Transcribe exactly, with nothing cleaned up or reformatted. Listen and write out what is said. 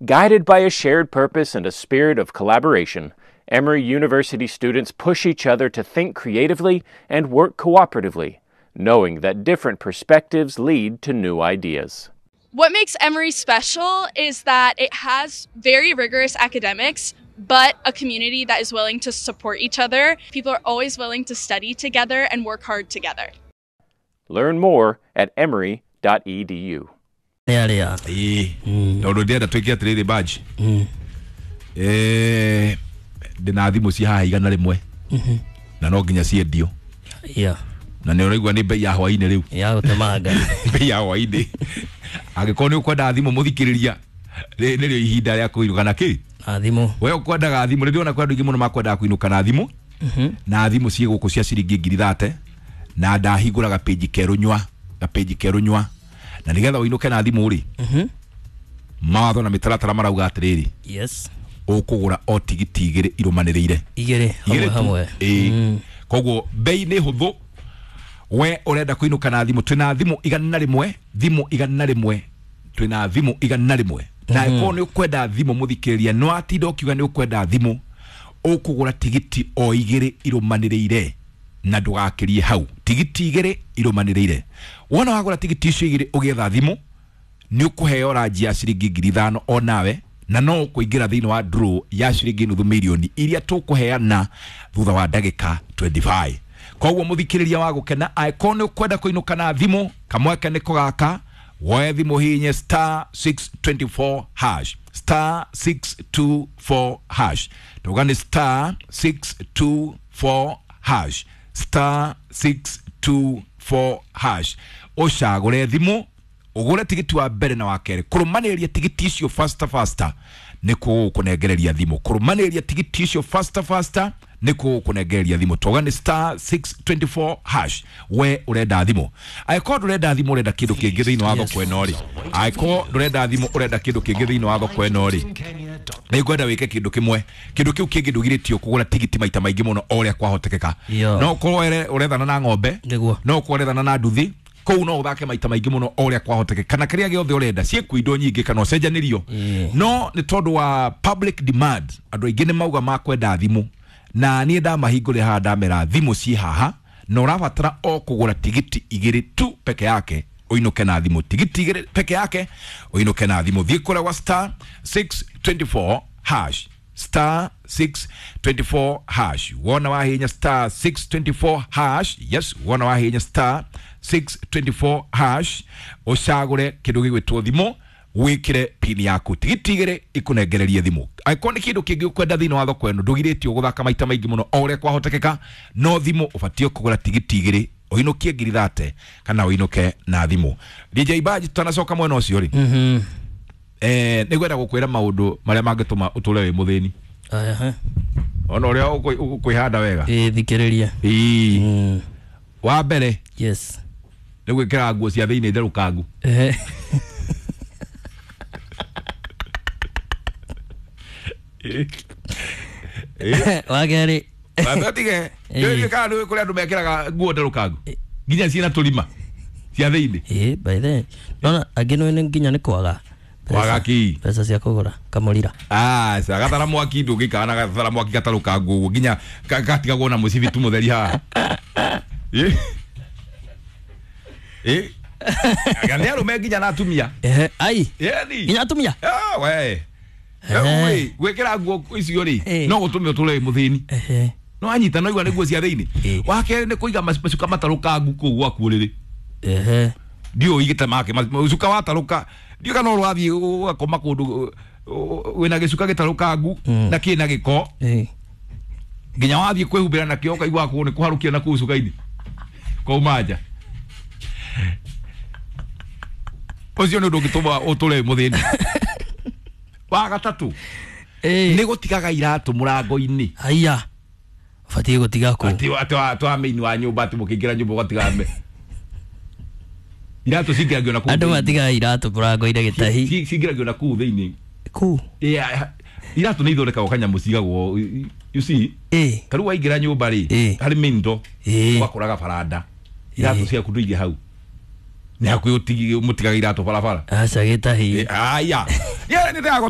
Guided by a shared purpose and a spirit of collaboration, Emory University students push each other to think creatively and work cooperatively, knowing that different perspectives lead to new ideas. What makes Emory special is that it has very rigorous academics, but a community that is willing to support each other. People are always willing to study together and work hard together. Learn more at emory dot e d u. Ĩĩ, tondũ ndĩrenda twĩke atĩrĩrĩ badge. Eh, ndĩna thimũ ci haha igana rĩmwe na no nginya ciendio. Yeah. Na nĩ ũraigua nĩ bei ya hwainĩ rĩu. Ya gũtemanga. Bei ya hwainĩ. Angĩkorwo nĩ ũkwenda thimũ mũthikĩrĩria, nĩrĩo ihinda rĩa kũinũka na kĩ? Na thimũ. We ũkwendaga thimũ, nĩ ndĩrona kwĩ andũ aingĩ mũno makwendaga kũinũka na thimũ. Na thimũ ciĩ gũkũ cia ciringi ngiri thate na ndahingũra gapĩnji kerũ nyua, gapĩnji kerũ nyua. Na nĩgetha ũinũke na thimũ rĩ, mawatho na mĩtaratara marauga atĩrĩrĩ. Yes. Ũkũgũra o tigiti igĩrĩ irũmanĩrĩire. Igĩrĩ hamwe hamwe. Ĩĩ. Koguo bei nĩ hũthũ. We ũrenda kũinũka na thimũ, twĩna thimũ igana rĩmwe, thimũ igana rĩmwe, twĩna thimũ igana rĩmwe. Na ĩkorwo nĩ ũkwenda thimũ mũthikĩrĩria, no atinda ũkiuga nĩ ũkwenda thimũ, ũkũgũra tigiti o igĩrĩ irũmanĩrĩire na ndũgakĩrie hau. Tigiti igĩrĩ irũmanĩrĩire. Wona wagũra tigiti icio igĩrĩ ũgĩetha thimũ, nĩ ũkũheo ranji ya ciringi ngiri ithano o nawe, na no ũkũingĩra thĩinĩ wa draw ya ciringi nuthu mirioni iria tũkũheana thutha wa ndagĩka twenty-five. Koguo mũthikĩrĩria wa gũkena, angĩkorwo nĩ ũkwenda kũinũka na thimũ, kamweke nĩko gaka, woe thimũ hihinye star six two four hash, star six two four hash. Tuga nĩ star six two four hash, star six two four hash. Ũcagũre thimũ, ũgũre tigiti wa mbere na wa kerĩ. Kũrũmanĩrĩria tigiti icio faster faster nĩ kũgũkũnengereria thimũ. Kũrũmanĩrĩria tigiti icio faster faster nĩ kũgũkũnengereria thimũ. Tuga nĩ star six two four hash. We ũrenda thimũ. Angĩkorwo ndũrenda thimũ ũrenda kĩndũ kĩngĩ thĩinĩ wa thoko ĩno rĩ. Angĩkorwo ndũrenda thimũ ũrenda kĩndũ kĩngĩ thĩinĩ wa thoko ĩno rĩ. Nĩ ngwenda wĩke kĩndũ kĩmwe. Kĩndũ kĩu kĩngĩ ndũgirĩtio kũgũra tigiti maita maingĩ mũno o ũrĩa kwahotekeka. No ũkorwo ũrethana na ng'ombe, no ũkorwo ũrethana na nduthi, kũu no ũthake maita maingĩ mũno o ũrĩa kwahotekeka, kana kĩrĩa gĩothe ũrenda ciĩkuo indo nyingĩ kana ũcenjanĩrio. No nĩ tondũ wa public demand, andũ aingĩ nĩ mauga makwenda thimũ, na niĩ ndamahingũrĩra haha ndamera thimũ ciĩ haha, na ũrabatara o kũgũra tigiti igĩrĩ tu peke yake ũinũke na thimũ. Tigiti igĩrĩ peke yake ũinũke na thimũ. Thiĩ kũrĩa gwa star six two four hash, star six two four hash. Wona wahinya star six two four hash, yes, wona wahinya star six two four hash, ũcagũre kĩndũ gĩgwĩtwo thimũ, wĩkĩre pin yaku. Tigiti igĩrĩ ikũnengererie thimũ. Angĩkorwo nĩ kĩndũ kĩngĩ ũkwenda thĩinĩ wa thoko ĩno, ndũgirĩtio gũthaka maita maingĩ mũno o ũrĩa kwahotekeka, no thimũ ũbatiĩ kũgũra tigiti igĩrĩ ũinũkie ngiri thate kana ũinũke na thimũ. D J Badge, tutanacoka mwena ũcio rĩ, eh, nĩngwenda gũkwĩra maũndũ marĩa mangĩtũma ũtũre wĩ mũthĩni. Ona ũrĩa ũkwĩhanda wega. Ĩĩ, thikĩrĩria. Ĩĩ. Wa mbere, yes, nĩ gwĩkĩra nguo cia thĩinĩ therũkangu. Wa kerĩ, Watige, nĩ kana nĩ kũrĩ andũ mekĩraga nguo therũkangu nginya ciĩna tũrima cia thĩinĩ. Ĩĩ, by the nona angĩ nĩ nginya nĩ kwaga kwaga kĩ mbeca cia kũgũra kamũrira. Ah, sa gathara mwaki ndũngĩikara na gathara mwaki gatarũkangu ũguo nginya gatigagwo na mũcibi tu mũtheri haha. Ĩ ĩ nĩ arũme nginya na atumia. Ehe, ai nginya atumia. Ah, we rĩu gwĩkĩra nguo icio rĩ no gũtũme ũtũre wĩ mũthĩni. No anyita no igua nĩ nguo cia thĩinĩ. Wa kerĩ nĩ kũiga macuka matarũkangu kũu gwaku ũrĩrĩ. Ehe, ndiũĩ igĩte make macuka watarũka, ndiũĩ kana ũrathiĩ ũgakoma kũndũ wĩna gĩcuka gĩtarũkangu na kĩna gĩko, nginya wathiĩ kwĩhumbĩra nakĩo ũkaigua kũu nĩ kũharũkia na kũu cuka-inĩ kwauma nja. Ũcio nĩ ũndũ ũngĩtũma ũtũre wĩ mũthĩni. Wa gatatũ nĩ gũtigaga iratũ mũrango-inĩ. Haiya, ũbatiĩ gũtiga kũ? Atĩ atĩ wa main wa nyũmba, atĩ mũkĩingĩra nyũmba ũgatiga me iratũ cingĩragio na kũu. Andũ matigaga iratũ mũrango-inĩ gĩtahi. Cingĩragio na kũu thĩinĩ. Kũu? Iratũ nĩ ithondekagwo kanyamũ cigagwo, you see, ta rĩu waingĩra nyũmba rĩ, harĩ main door, ũgakoraga baranda, iratũ ciaku ndũige hau. Nĩ hakuhĩ mũtigaga iratũ barabara. Aca gĩtahi. Aya. Nĩ